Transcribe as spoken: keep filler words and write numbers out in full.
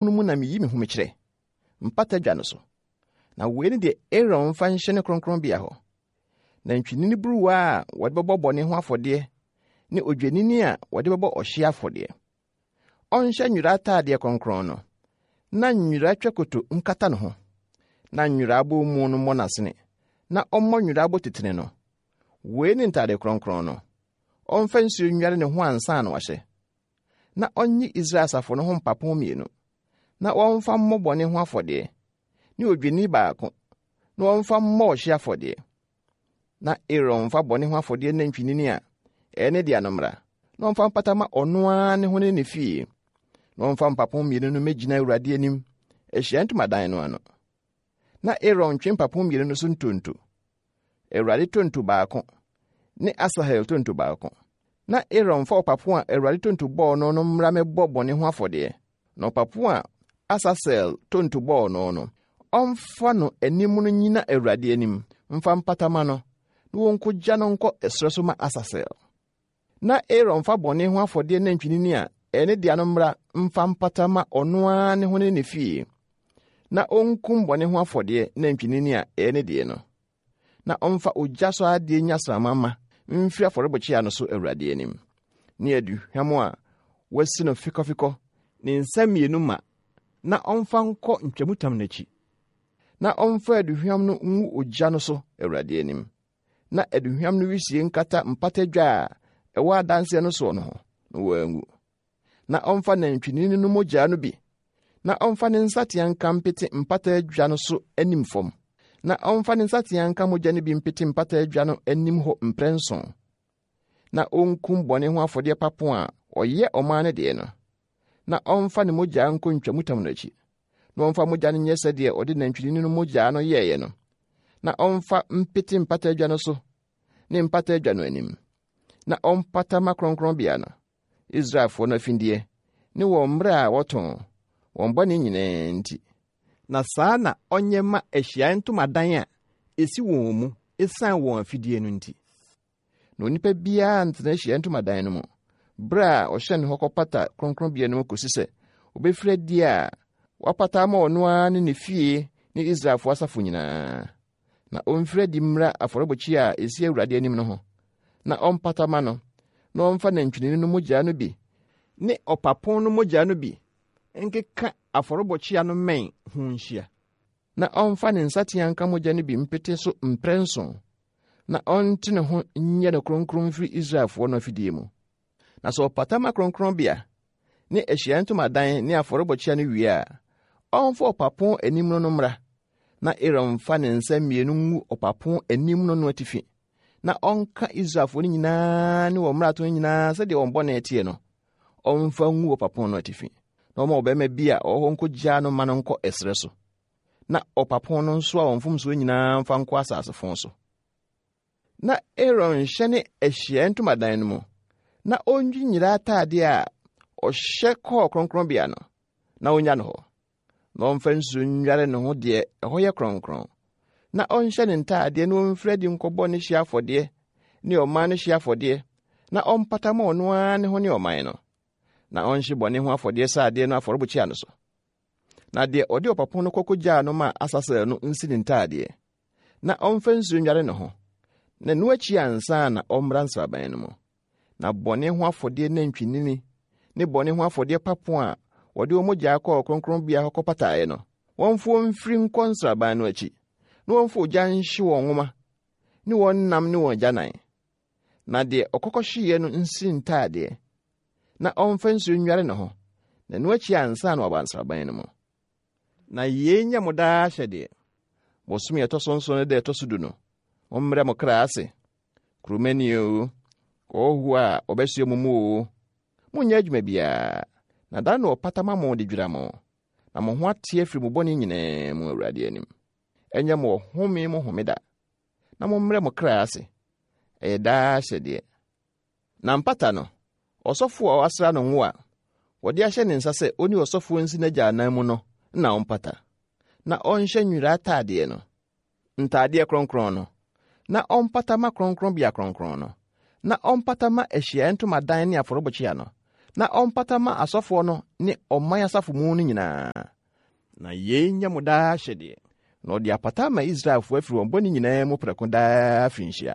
no mu na meyi me ho mekyerɛ, mpata dwa no so. Na wei ne deɛ Aaron mfa nhyɛ ne kronkronbea hɔ. Nantwinini buruwa a wɔde bɛbɔ bɔne ho afɔdeɛ ne odwennini a wɔde bɛbɔ ɔhyeɛ afɔdeɛ. Ɔnhyɛ nwera ataadeɛ kronkron no, na nwera twakoto nkata ne ho, na nwera abɔmu no mmɔ n'asene, na ɔmmɔ nwera abotitene no. Wei ne ntaade kronkron no. Ɔmfa nsuo nnware ne ho ansa na wahyɛ. Na ɔnyi Israel asafo no ho mpapo mmienu, na wɔmfa mmɔ bɔne ho afɔdeɛ, ne odwennini baako, na wɔmfa mmɔ ɔhyeɛ afɔdeɛ. Na Aaron mfa bɔne ho afɔdeɛ nantwinini a ɛyɛ ne dea no mmra, na ɔmfa mpata ma ɔno ara ne ho ne ne fie. Na ɔmfa mpapo mmienu no mmɛgyina Awurade anim, ahyiaeɛ ntomadan no ano. Na Aaron ntwe mpapo mmienu no so ntonto. Awurade tonto baako ne Asahel tonto baako. Na Aaron mfa ɔpapo a Awurade tonto bɔɔ no no mmra mmɛbɔ bɔne ho afɔdeɛ. Na ɔpapo a Asasel tonto bɔɔ no no, ɔmfa no anim no nnyina Awurade anim mfa mpata ma no, na wɔnkogya no nkɔ ɛserɛ so ma Asasel. Na Aaron mfa bɔne ho afɔdeɛ nantwinini a ɛyɛ ne dea no mmra mfa mpata ma ɔno ara ne ho ne ne fie. Na onkum bɔne ho afɔdeɛ nantwinini a ɛyɛ ne deɛ no. Na ɔmfa ogya so adeɛ nyasramma ma mfiri afɔrebukyia no so Awurade anim. Ne aduhwam a wɔasi no fikɔfikɔ ne nsa mmienu ma na ɔmfa nkɔ ntwamutam n'akyi. Na ɔmfa aduhwam no ngu ogya no so Awurade anim. Na aduhwam no wisie nkata mpata dwa a ɛwɔ adanseɛ no soɔ no ho, na wɔangu. Na ɔmfa nantwinini no mogya no bi, na ɔmfa ne nsateaa nka mpete mpata adwa no so anim fam. Na ɔmfa ne nsateaa nka mogya no bi mpete mpata adwa no anim hɔ mprɛnson. Na onkum bɔne ho afɔdeɛ papo a ɔyɛ ɔman no deɛ no. Na ɔmfa ne mogya nkɔ ntwamutam no akyi. Na ɔmfa mogya no nyɛ sɛdeɛ ɔde nantwinini no mogya no yɛeɛ no. Na ɔmfa mpete mpata adwa no so ne mpata adwa no anim. Na ɔmpata ma kronkronbea no, Israelfoɔ no afideɛ, ne wɔn mmerɛ a wɔtɔn, wɔn bɔne nyinaa nti. Na saa na ɔnyɛ ma ahyiaeɛ ntomadan a esi wɔn mu esiane wɔn afidie no nti. Na onipa biara ntena ahyiaeɛ ntomadan no mu, bere a ɔhyɛne hɔ kɔpata kronkronbea no mu kosi sɛ obɛfiri adi a wapata ama ɔno ara ne ne fie ne Israelfoɔ asafo nyinaa. Na ɔmfiri adi mmra afɔrebukyia a esi Awurade anim no ho, na ɔmpata ma no, na ɔmfa nantwinini no mogya no bi ne ɔpapo no mogya no bi nkeka afɔrebukyia no mmɛn ho nhyia. Na ɔmfa ne nsateaa nka mogya no bi mpete so mprɛnson, na ɔnte ne ho nyɛ no kronkron mfiri Israelfoɔ no afidie mu. Na sɛ ɔpata ma kronkronbea ne ahyiaeɛ ntomadan ne afɔrebukyia no wie a, ɔmfa ɔpapo anim no no mmra, na Aaron mfa ne nsa mmienu ngu ɔpapo anim no no atifi, na ɔnka Israelfoɔ no nyinaa ne wɔn mmarato nyinaa sɛdeɛ wɔn bɔne teɛ no, ɔmfa ngu ɔpapo no atifi, na ɔma ɔbarima bi a ɔwɔ hɔ nkɔgyaa no ma no nkɔ ɛserɛ so, na ɔpapo no nso a wɔn mfomsoɔ nyinaa mfa nkɔ asase so. Na Aaron nhyɛne ahyiaeɛ ntomadan no mu, na ɔnwi nwera ataadeɛ a ɔhyɛ kɔɔ kronkronbea no, na onya no hɔ. Na ɔmfa nsuo nnware ne ho deɛ ɛhɔ yɛ kronkron. Na ɔnhyɛ ne ntaadeɛ na ɔmfiri adi nkɔbɔ ne hyeɛ afɔdeɛ ne ɔman no hyeɛ afɔdeɛ, na ɔmpata ma ɔno ara ne ho ne ɔman no. Na ɔnhye bɔne ho afɔdeɛ sradeɛ no afɔrebukyia no so. Na deɛ ɔde ɔpapo no kɔkɔgyaa no ma Asasel no nsi ne ntaadeɛ, na ɔmfa nsuo nnware ne ho, na ɛno akyi ansa na ɔmmra nsraban no mu. Na bɔne ho afɔdeɛ nantwinini ne bɔne ho afɔdeɛ papo a wɔde wɔn mogya kɔɔ kronkronbea hɔ kɔpataeɛ no, wɔmfa wɔn mfiri nkɔ nsraban no akyi, na wɔmfa ogya nhye wɔn nwoma ne wɔn nam ne wɔn agyanan. Na deɛ ɔkɔkɔhyeeɛ no nsi ntaadeɛ, na ɔmfa nsuo nnware ne ho, na ɛno akyi ansa na waba nsraban no mu. Na yei nyɛ mo daa ahyɛdeɛ. Bosome a ɛtɔ so nson no da ɛtɔ so du no, mommrɛ mo kra ase. Kuromani o, ɔhɔhoɔ a ɔbɛsoɛ mo mu o, monyɛ adwuma biara, na da na ɔpata ma mo de dwira mo, na mo ho ate afiri mo bɔne nyinaa mu Awurade anim. Ɛnyɛ mo ɔhome mo homeda, na mommrɛ mo kra ase. Ɛyɛ daa ahyɛdeɛ. Na mpata no, ɔsɔfoɔ a wɔasra no ngo a wɔde ahyɛ ne nsa sɛ ɔne ɔsɔfoɔ nsi n'agya anan mu no na ɔmpata. Na ɔnhyɛ nwera ataadeɛ no, ntaadeɛ kronkron no, na ɔmpata ma kronkronbea kronkron no, na ɔmpata ma ahyiaeɛ ntomadan ne afɔrebukyia no, Na ɔmpata ma asɔfoɔ no ne ɔman asafo mu no nyinaa. Na yei nyɛ mo daa ahyɛdeɛ. Na ɔde apata ama Israelfoɔ afiri wɔn bɔne nyinaa mu prɛko daa afirinhyia.